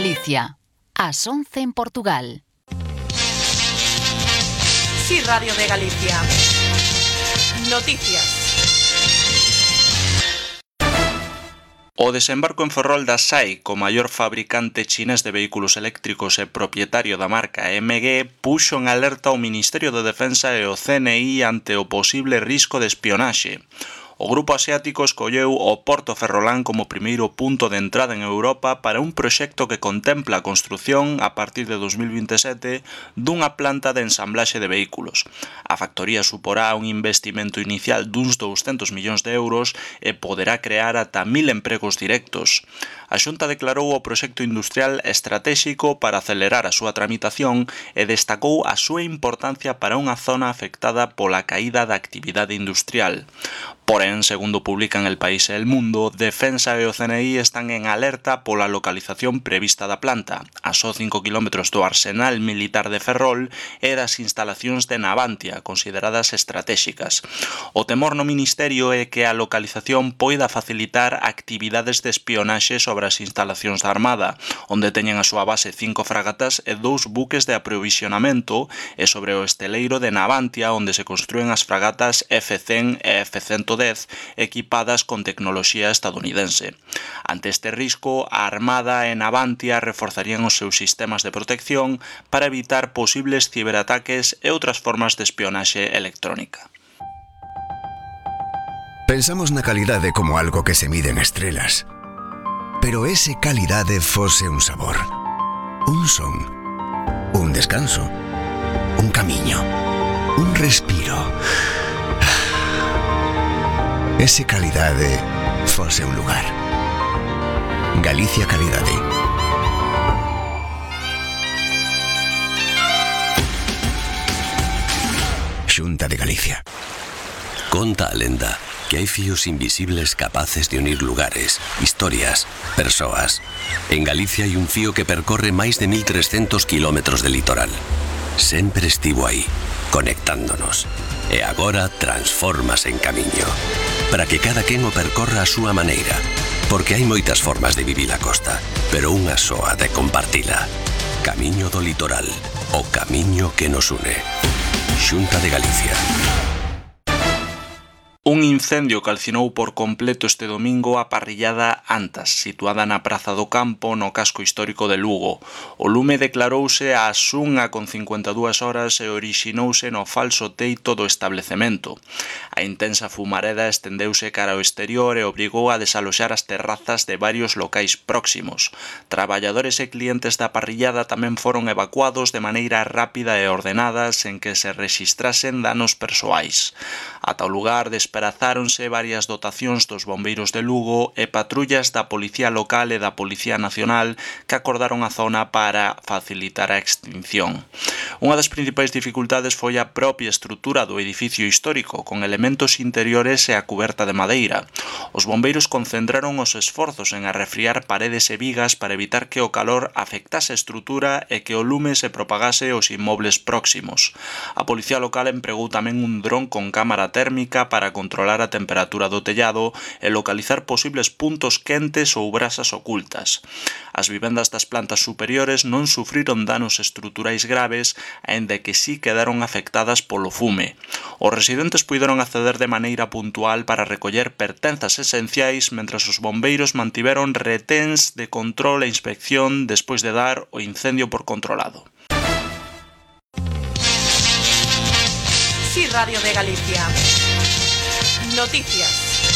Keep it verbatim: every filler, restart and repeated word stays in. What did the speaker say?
Galicia, ás once en Portugal. Sí, Radio de Galicia. Noticias. O desembarco en Ferrol da S A I, co maior fabricante chinés de vehículos eléctricos e propietario da marca M G, puxo en alerta o Ministerio de Defensa e o C N I ante o posible risco de espionaxe. O grupo asiático escolleu o Porto Ferrolán como primeiro punto de entrada en Europa para un proxecto que contempla a construción, a partir de dos mil vinte e sete, dunha planta de ensamblaxe de vehículos. A factoría suporá un investimento inicial duns douscentos millóns de euros e poderá crear ata mil empregos directos. A Xunta declarou o proxecto industrial estratéxico para acelerar a súa tramitación e destacou a súa importancia para unha zona afectada pola caída da actividade industrial. Porén, segundo publican El País e El Mundo, Defensa e o C N I están en alerta pola localización prevista da planta, a só cinco kilómetros do arsenal militar de Ferrol e das instalacións de Navantia, consideradas estratéxicas. O temor no Ministerio é que a localización poida facilitar actividades de espionaxe sobre as instalacións da Armada, onde teñen a súa base cinco fragatas e dous buques de aprovisionamento, e sobre o esteleiro de Navantia, onde se construen as fragatas F cen e F ciento dez equipadas con tecnoloxía estadounidense. Ante este risco, a Armada e Navantia reforzarían os seus sistemas de protección para evitar posibles ciberataques e outras formas de espionaxe electrónica. Pensamos na calidade como algo que se mide en estrelas. Pero ese calidade fose un sabor, un son, un descanso, un camiño, un respiro. Ese calidade fose un lugar. Galicia Calidade. Xunta de Galicia. Conta a lenda que hai fíos invisibles capaces de unir lugares, historias, persoas. En Galicia hai un fío que percorre máis de mil trescentos kilómetros de litoral. Sempre estivo aí, conectándonos. E agora transformas en camiño, para que cada quen o percorra a súa maneira, porque hai moitas formas de vivir a costa, pero unha soa de compartila. Camiño do litoral, o camiño que nos une. Xunta de Galicia. Un incendio calcinou por completo este domingo a parrillada Antas, situada na Praza do Campo, no casco histórico de Lugo. O lume declarouse ás unha con cincuenta e dúas horas e orixinouse no falso teito do establecemento. A intensa fumareda estendeuse cara ao exterior e obrigou a desaloxar as terrazas de varios locais próximos. Traballadores e clientes da parrillada tamén foron evacuados de maneira rápida e ordenada sen que se rexistrasen danos persoais. Ata o lugar desprazáronse varias dotacións dos bombeiros de Lugo e patrullas da Policía Local e da Policía Nacional que acordaron a zona para facilitar a extinción. Unha das principais dificultades foi a propia estrutura do edificio histórico, con elementos interiores e a cuberta de madeira. Os bombeiros concentraron os esforzos en arrefriar paredes e vigas para evitar que o calor afectase a estrutura e que o lume se propagase aos inmobles próximos. A Policía Local empregou tamén un dron con cámara térmica para controlar a temperatura do tellado e localizar posibles puntos quentes ou brasas ocultas. As vivendas das plantas superiores non sufriron danos estruturais graves, aínda que sí quedaron afectadas polo fume. Os residentes puideron acceder de maneira puntual para recoller pertenzas esenciais, mentras os bombeiros mantiveron reténs de control e inspección despois de dar o incendio por controlado. Sí, Radio de Galicia. Noticias.